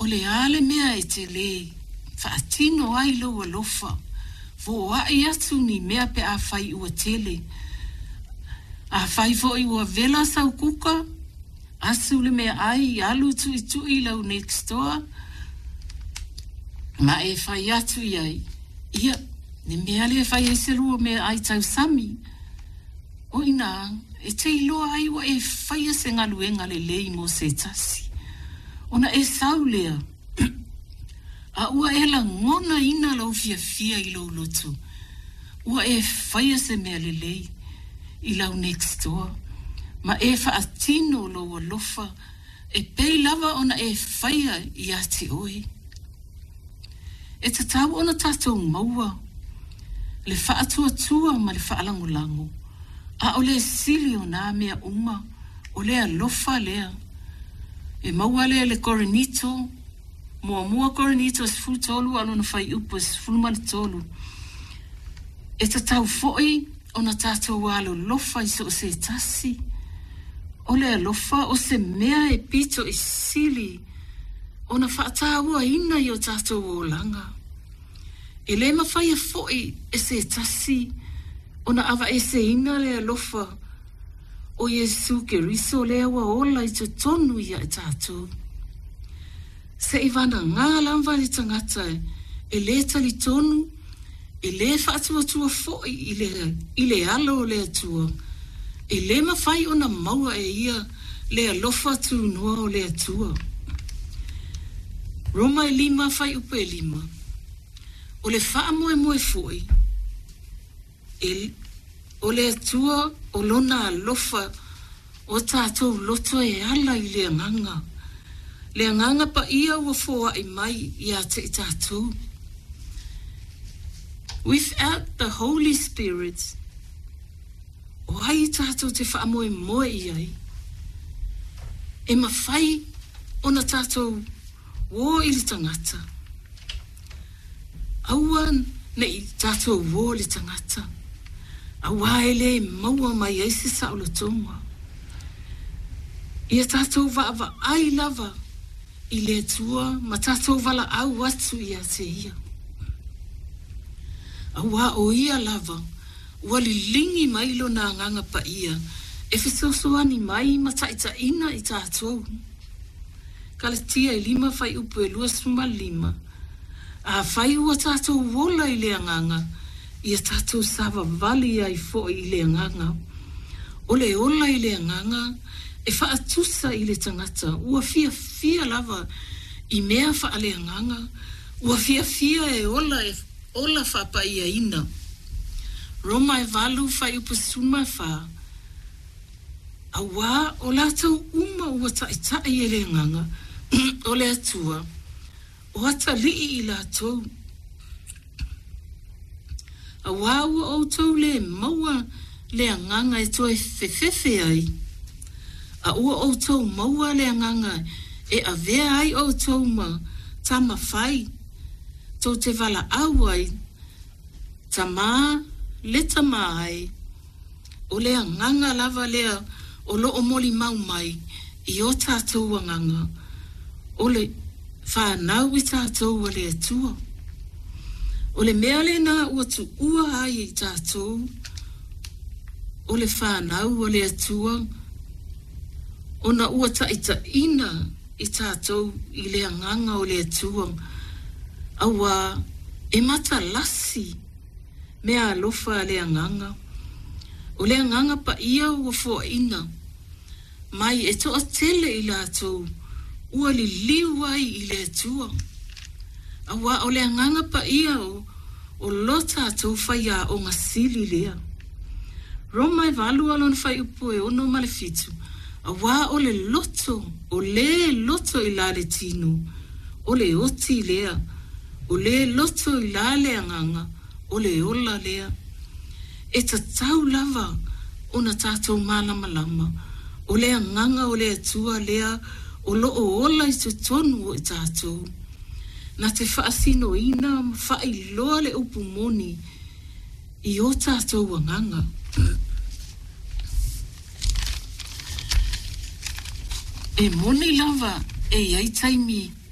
O le a le mea e te lē faatino ai lou alofa, foai atu ni mea pe afai ua tele. Afai foi ua vela sau kuka, asu le meaai alu tuitui i lau next door ma e fai atu i ai, Ia, le mea lea e fai ai se lua meaai tausami. O inā, e te iloa ai ua e faia se galuega lelei mo se tasi, ona e sau lea, a ua e lagonaina lou fiafia i lou loto, ua e faia se mea lelei i lau next door, ma e faatino lou alofa e pei lava ona e faia ia te oe. E tatau ona tatou maua le faatuatua ma le faalagolago, a o le sili o nā mea uma, o le alofa lea. E maua lea i le Korinito, Muamua Korinito 13 a o lona fuaiupu e 13. E tatau foi ona tatou alolofa i so o se tasi. O le alofa o se mea e pito i sili ona faatauaina i o tatou olaga. E lē mafaia foi e se tasi ona avaeseina le alofa o Iesu Keriso lea ua ola i totonu ia i tatou. Se i vanagā lava le tagata e lē talitonu, e lē faatuatua foi i le, i le alo o le Atua, e lē mafai ona maua e ia le alofa tunoa o le Atua. Roma e lima, fuaiupu e lima. O le faamoemoe foi, e, o le Atua o Lona alofa o tatou loto e ala i le Agaga, le Agaga Paia ua foai mai ia te i tatou. Without the Holy Spirit, o ai tatou te faamoemoe i ai? E mafai ona tatou uō i le tagata. Aua ne i tatou uō le tagata, auā e lē maua mai ai se saolotoga. Ia tatou vaavaai lava i le Atua ma tatou valaau atu ia te Ia. Auā o Ia lava ua liligi mai Lona Agaga Paia e fesoasoani mai ma taitaiina i tatou. Kalatia e lima fuaiupu e 25, Afai ua tatou ola i le Agaga, ia tatou savavali ai foi i le Agaga. O le ola i le Agaga e faatusa i le tagata ua fiafia lava i mea faaleagaga, ua fiafia e ola e ola faapaiaina. Roma e valu fuaiupu 14. Auā o latou uma ua taʻitaʻi e le Agaga o le Atua, o atalii i latou. Auā ua outou lē maua le Agaga e toe fefefe ai, a ua outou maua le Agaga e avea ai outou ma tama fai, tou te valaau ai, Tamā le tamā e. O le agaga lava lea o lo o molimau mai i o tatou agaga, o le fanau i tatou a le Atua. O le mea lena ua tuua ai i tatou, o le fanau a le Atua, ona ua taitaiina i tatou i le agaga o le Atua, auā e matalasi mea alofa a le Agaga. O le Agaga Paia ua foaina mai e toatele i latou ua liliu ai i le Atua. Auā o le Agaga Paia o, o lo tatou faiaoga sili lea. Roma e valu a lona fuaiupu e ono ma le fitu, auā o le loto, o lē loto i la le tino, o le oti lea, O le loto i la le agaga, o le ola lea. E tatau lava ona tatou malamalama, o le agaga o le Atua lea o lo o ola i totonu o i tatou. Na te faasinoina ma faailoa le upu moni i o tatou agaga. E moni lava e i ai taimi.